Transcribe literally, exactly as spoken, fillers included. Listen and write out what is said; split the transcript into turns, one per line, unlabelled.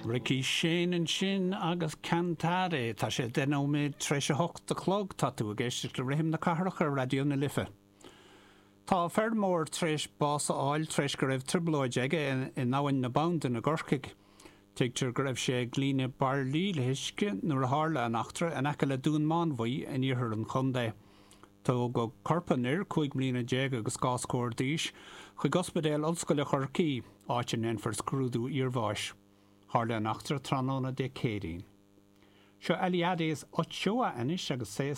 Ricky Shane ansin agus Cantare tá sé deich nóiméad tar éis a hocht a chlog tá tú ag éisteacht le rithim na cathrach ar Raidió na Life. Tá feirmeoir tar éis bás a fháil tar éis go raibh trioblóid aige in abhainn na Bandan i gCorcaigh. Tuigtear go raibh sé ag líonadh bairillí le huisce nuair a tharla an eachtra in aice le Dún Mánmhaí in iarthar an chontae. Tógadh corp an fhir cúig bliana déag agus dhá scór d'aois chuig Ospidéal Ollscoile Chorcaí, áit a ndéanfar scrúdú iarbháis. Tharla an eachtra tráthnóna Dé Céadaoin. Seo Eliades Ochoa anois agus sé